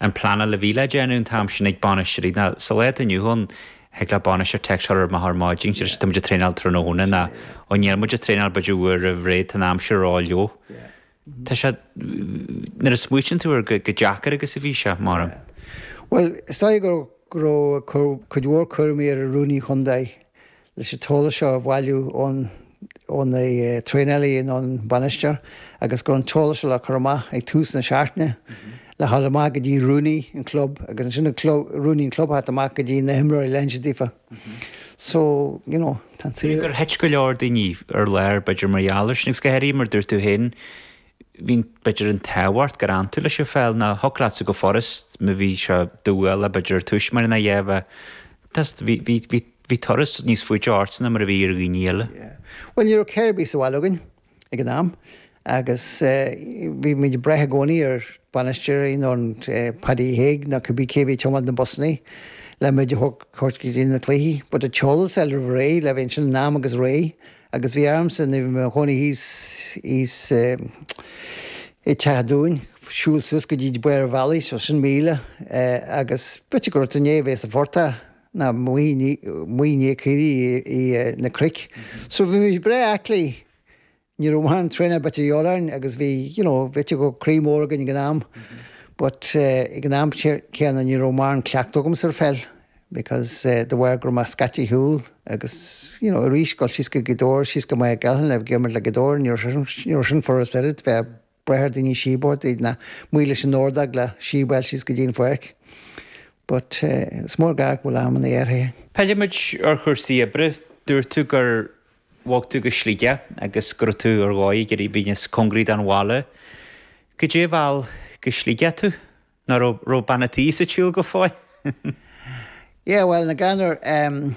an pleanáil a bhí le déanamh an t-am sin ag bainisteoirí ná sa lá atá inniu ann thig le bainisteoir text a chur amach ar maidin tá muid ag traenáil tráthnóna nó ó níl muid ag traenáil b'fhéidir uair roimh ré tá an aimsir ró-fhliuch. Tá sé, nuair a smaoitíonn tú air go deacair agus a bhí sé, mar. Bhuel, is dóigh go raibh cuid mhór cúraimí ar an rúnaí chontae leis an t-eolas seo a bhailiú ón ó na traenálaithe nó an bainisteoir agus go raibh an t-eolas seo le cur amach ag tús na seachtaine le dhul amach go dtí rúnaí an chlub agus ansin an club, rúnaí an chlub a theacht amach go dtí na himreoirí le hinse daofa. So, you know, tá an saol. Gur thit go leor daoine ar lár b'fhéidir mar gheall air sin agus go háirithe mar dúirt tú féin bhí b'fhéidir an t-ádh ort gur fhan tú leis an pheil nó thiocfadh leatsa go furast má bhí sé dúbhálach b'fhéidir ar tús mar ina dhiaidh bheith bhí bhí bhí bhí turas níos faide ortsa ná mar a bhí ar dhaoine eile. Yeah. Bhuel ní raibh carr ar bith sa bhaile againn ag an am agus bhí muid ag brath i gcónaí ar bainisteoirí nó an Paddy Hague nó cibé cé a bhí ag tiomáint na busannaí le muid a thabhairt go dtí na cluichí. But an t-eolas a fháil roimh ré le bheith ansin in am agus réidh agus bhí ormsa nuair a bhí mé i mo chónaí thíos thíos i dTeach an Dúin siúl suas go dtí barr an bhealaigh so sin míle agus b'fhéidir go raibh tú i ndiaidh a bheith sa phortach nó amuigh i ndiaidh caoirigh i na cnoic. So bhí muid breá aclaí Ní raibh mórán traenáil b'fhéidir de dhíobháil orainn agus bhí, you know, b'fhéidir go raibh croí mór againn ag an am but ag an am céanna ní raibh mórán cleachtadh agamsa ar pheil because de bharr go raibh mé scaití ar shiúl agus, you know, arís dul síos go Gaoth Dobhair, síos go Maigh Cholm le bheith ag imirt le Gaoth Dobhair, ní raibh sin furast oiread, bheith ag brath ar daoine síob a thabhairt duit nó amuigh leis an ordóg le síob a fháil síos go dtí an pháirc. But is mór gar go bhfuil amanna athraithe. Pillfimid ar chúrsaí oibre. Dúirt tú gur Bhog tú go Sligeach agus go raibh tú ar dhóigh ag iarraidh bheith níos cóngaraí don bhaile. Goidé a mheall go Sligeach tú? Nó raibh raibh bean a' tí sa tsiúl go fóill? Yeah, bhuel, na gceannair, em,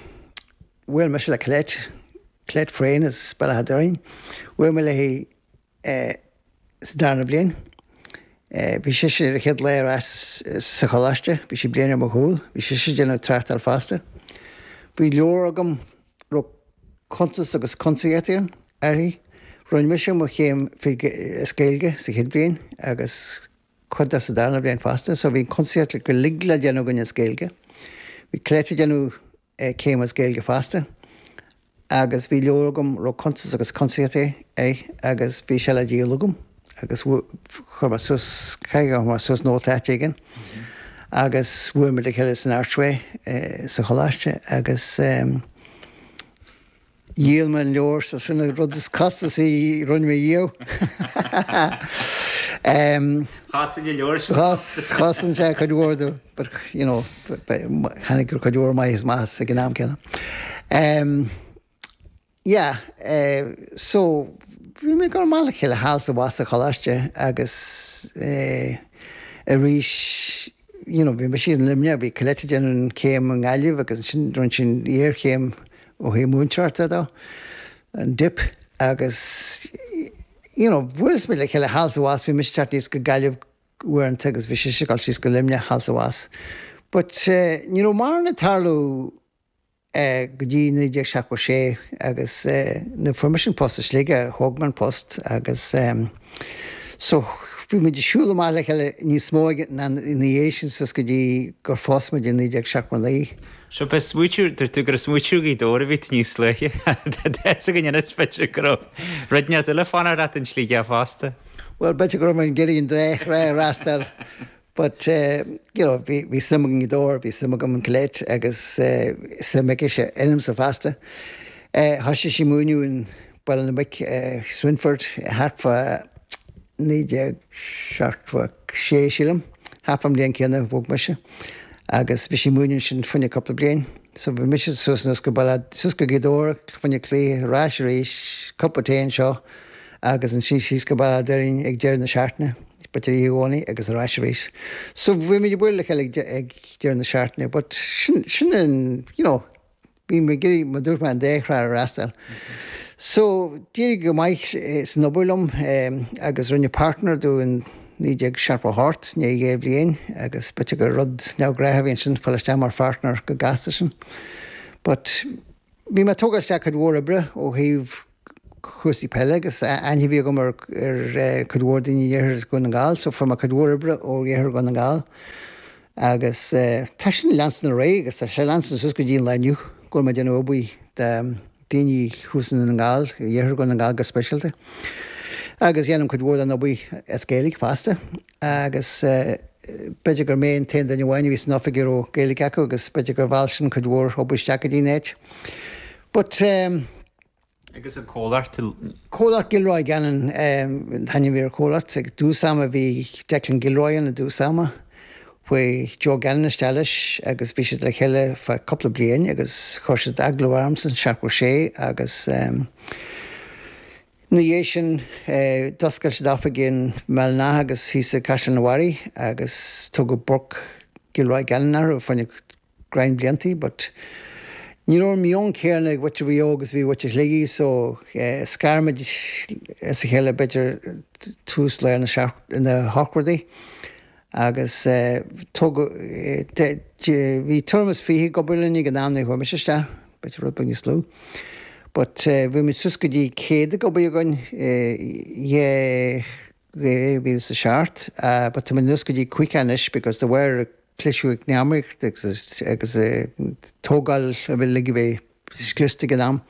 bhuail mise le Colette, Colette Frayne as Béal Átha Doirín. Bhuail mé léi eh, sa darna bliain. Eh, bhí sise ar a chéad lá ar ais sa choláiste, bhí sí bliain ar mo chúl, bhí sise ag déanamh tráchtáil fosta. Bhí leabhar agam raibh cuntas agus cuntasaíocht uirthi. Rinne mise mo chéim as Gaeilge sa chéad bhliain agus cuid de sa darna bliain fosta, so bhí an cuntasaíocht go uilig le déanamh againn as Gaeilge. Bhí Colette ag déanamh céim as Gaeilge fosta agus bhí leabhar agam raibh cuntas agus cuntasaíocht air agus bhí sé le díol agam agus chuir mé suas, caithfidh gur chuir mé suas nóta áit éigin agus bhuail muid le chéile san Archway sa choláiste agus dhíol mé an leabhar so sin an rud is costasaí a rinne mé riamh. Chosain an leabhar sin. Chosain sé cuid mhór domh but you know tháinig cuid mhór maitheas amach as ag an am céanna. Yeah, so bhí muid ag dul amach le chéile thall is abhus sa choláiste agus arís you know bhí mise in Luimneach, bhí Colette ag déanamh an chéim i nGaillimh agus ansin rinne sí an iarchéim ó thaobh múinteoireachta dó, an Dip agus you know bhuaileas muid le chéile thall is abhus, bhí mise ag teacht aníos go Gaillimh uaireanta agus bhí sise ag dul síos go Luimneach thall is abhus. But ní raibh mórán ag tarlú go dtí 1976 agus nuair a fuair mise an post i Sligeach, thóg mé an post agus so bhí muid ag siúl amach le chéile níos mó ina dhiaidh sin suas go dtí gur phós muid i 1979. So b'é smaoitiú, dúirt tú gur ag smaoitiú ar Ghaoth Dobhair a bhí tú níos luaithe. Tá fhios againn anois b'fhéidir go raibh rud inteacht eile ag fanacht leat in Sligeach fosta. Bhuel b'fhéidir go raibh mé ag iarraidh an dá thrá a fhreastal But you know bhí bhí suim agam i nGaoth Dobhair, bhí suim agam in Colette agus suim aicise ionamsa fosta. Thoisigh sí múineadh in Baile na Muice, Swinford, thart fá 1976 sílim, thart fán mbliain céanna a bhog mise agus bhí sí ag múineadh ansin fá choinne cúpla bliain. So bhí mise suas anuas go Baile, suas go Gaoth Dobhair fá choinne cluiche, ar ais arís, cupa tae anseo agus ansin síos go Baile Átha Doirín ag deireadh na seachtaine. B'fhéidir oíche Dhomhnaigh agus ar ais arís. So bhí muid ag bualadh le chéile ag deireadh na seachtaine but sin, sin an, you know, bhí mé ag iarraidh, mar dúirt mé, an dá thrá a fhreastal. So d'éirigh go maith san obair liom agus rinneadh partner domh in 1978, i ndiaidh dhá bhliain agus b'fhéidir gur rud neamhghnách a bhí ansin, fáil isteach mar phartner go gasta sin. But bhí mé ag tógáil isteach cuid mhór oibre ó thaobh cúrsaí peile agus aithne a bhí agam ar ar cuid mhór daoine in iarthar Dhún na nGall so fuair mé cuid mhór oibre ó iarthar Dhún na nGall. Agus tá sin ag leanstan ar aghaidh agus tá sé ag leanstan suas go dtí an lá inniu go bhfuil mé ag déanamh obair do daoine thuas i nDún na nGall, i iarthar Dhún na nGall go speisialta. Agus dhéanaim cuid mhór den obair as Gaeilge fosta. Agus b'fhéidir gur mé an t-aon duine amháin a bhí san oifig a raibh Gaeilge acu agus b'fhéidir gur mheall sin cuid mhór obair isteach go dtí an áit. But. Agus an comhlacht? Comhlacht Gilroy Gannon an t-ainm a bhí ar an chomhlacht. Ag dtús ama bhí Declan Gilroy ann i dtús ama. Chuaigh Joe Gannon isteach leis agus bhí siad le chéile feadh cúpla bliain agus chuir siad agallamh ormsa in 76 agus ina dhiaidh sin d'oscail siad oifig i mBéal an Átha agus thíos i gCaisleán an Bharraigh agus tugadh Burke Gilroy Gannon orthu fá choinne greim bliantaí but ní raibh an meon céanna ag muintir Mhaigh Eo agus a bhí muintir Shligigh so scar muid as a chéile b'fhéidir tús lár na na hochtóidí agus tógadh bhí tuairim is 20 ag obair linn ag an am nuair a chuaigh mise isteach, b'fhéidir rud beag níos lú but bhí muid suas go dtí 100 ag obair againn i 2007 but tá muid anuas go dtí 50 anois because de bharr cliseadh eacnamaíochta agus agus tógáil a bhí uilig a bheith scriosta ag an am.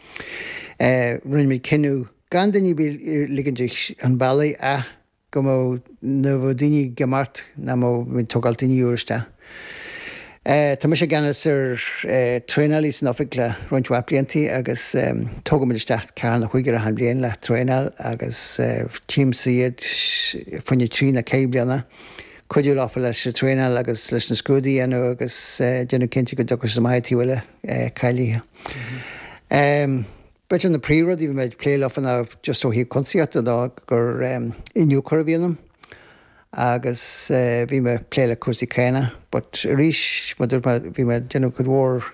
Rinne muid cinneadh gan duine ar bith a ligint chun bealaigh ach go mbeadh nuair a bheadh daoine ag imeacht nach mbeadh muid ag tógáil daoine úr isteach. Tá mise i gceannas ar traenálaí san oifig le roinnt mhaith bliantaí agus tógaimid isteach ceathair nó cúigear achan bhliain le traenáil agus tchímse iad fá choinne trí nó ceithre bliana. cuidiú leofa leis an traenáil agus leis na scrúduithe a dhéanamh agus déanamh cinnte go dtiocfaidh siad amach an taobh eile cáilithe. B'fhéidir na príomhrudaí a bhí mé ag plé leofa ná just ó thaobh cuntasaíochta ná gur iniúchóir a bhí ionam agus bhí mé ag plé le cúrsaí cánach but arís mar dúirt mé bhí mé ag déanamh cuid mhór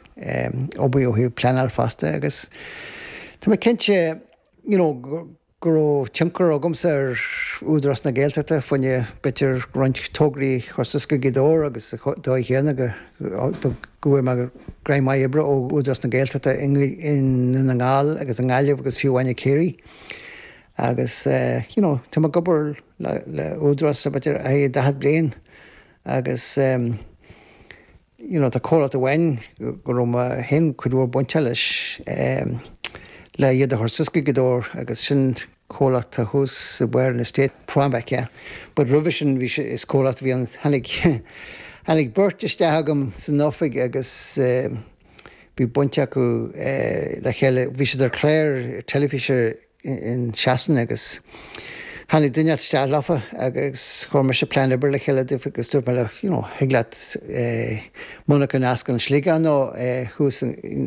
obair ó thaobh pleanáil fosta agus tá mé cinnte you know go raibh tionchar agamsa ar Údarás na Gaeltachta fá choinne b'fhéidir roinnt tograí a chur suas go Gaoth Dobhair agus sa dóigh chéanna go bhfuair mé greim maith oibre ó Údarás na Gaeltachta i nDún na nGall agus i nGaillimh agus fiú amháin i Ciarraí agus you know tá mé ag obair le Údarás b'fhéidir 40 bliain agus you know tá comhlacht amháin go raibh mé féin cuid mhór bainte leis le iad a chur suas go Gaoth Dobhair agus sin comhlacht atá thuas i mbarr an estate, Prombec yeah. But roimhe sin bhí sé, is comhlacht a bhí ann, tháinig, tháinig beirt isteach agam san oifig agus bhí baint acu le chéile, bhí siad ar chlár teilifíse in Shasana agus tháinig duine isteach leofa agus chuir mise plean oibre le chéile daofa agus dúirt mé leo, you know, thig leat monarcha a oscailt in Sligeach nó thuas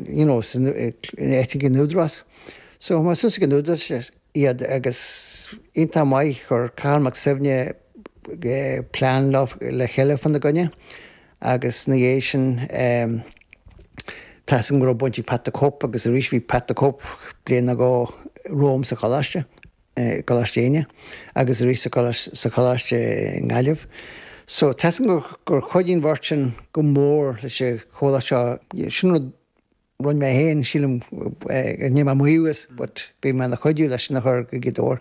you know, san áit ag an Údarás. So chuir mé suas ag an Údarás iad agus iontach maith chuir Cathal Mac Suibhne plean le chéile fá na gcoinne. Agus ina dhiaidh sin, tá 'fhios agam go raibh baint ag Pat the Cope agus arís bhí Pat the Cope bliain nó dhó romham sa choláiste, i gColáiste Éinne, agus arís sa choláiste i nGaillimh. So tá 'fhios agam gur chuidigh an bheirt sin go mór leis an chomhlacht seo. Sin rud Rinne mé féin, sílim, níl mé ag maíomh as, but bhí mé ina chuidiú leis sin a chur go Gaoth Dobhair.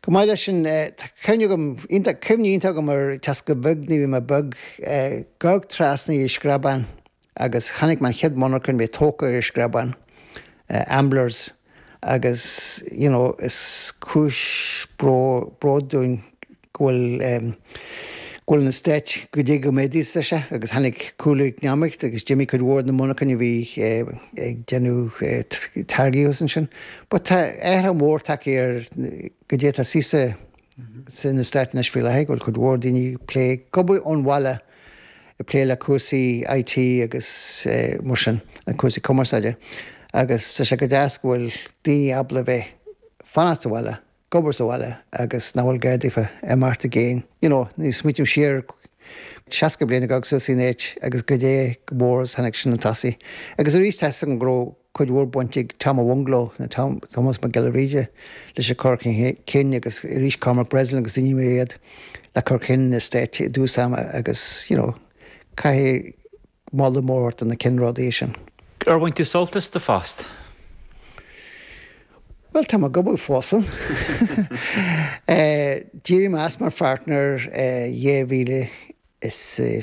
Chomh maith leis sin, tá cuimhne agam, iontach, cuimhne iontach agam ar Tesco beag nuair a bhí mé beag, ag amharc trasna ar Screabán agus chonaic mé an chéad monarcha a bhí tógtha ar Screabán, Amblers. agus you know is cúis bróid dúinn go bhfuil go bhfuil an eastát goidé chomh méadaithe is atá sé agus tháinig cúlú eacnamaíochta agus d'imigh cuid mhór de na monarchain a bhí ag déanamh táirgí thuas ansin. But tá athrú mór tagtha ar goidé atá sa san eastát anois faoi láthair, go bhfuil cuid mhór daoine ag plé, ag obair ón bhaile, ag plé le cúrsaí IT agus mar sin, an cúrsaí cumarsáide. Agus tá sé go deas go bhfuil daoine ábalta a bheith fanacht sa bhaile, ag obair sa bhaile agus nach bhfuil gá daofa imeacht i gcéin. You know, nuair a smaoiním siar 60 bliain ago suas in áit agus goidé chomh mór is tháinig sin chun tosaigh. Agus arís tá 'fhios agam go raibh cuid mhór baint ag Tom a' Bhungalow, nó Tom, Tomás Mac Giolla Bhríde, leis an cur chun cinn agus arís Cormac Breslin agus daoine mar iad le cur chun an eastáit i dtús ama agus, you know, caithfidh moladh mór a thabhairt do na ceannródaithe sin. Ar bhain tú sult as do phost? Bhuel, tá mé ag obair fós ann. D'éirigh mé as mar pháirtneir i 2020.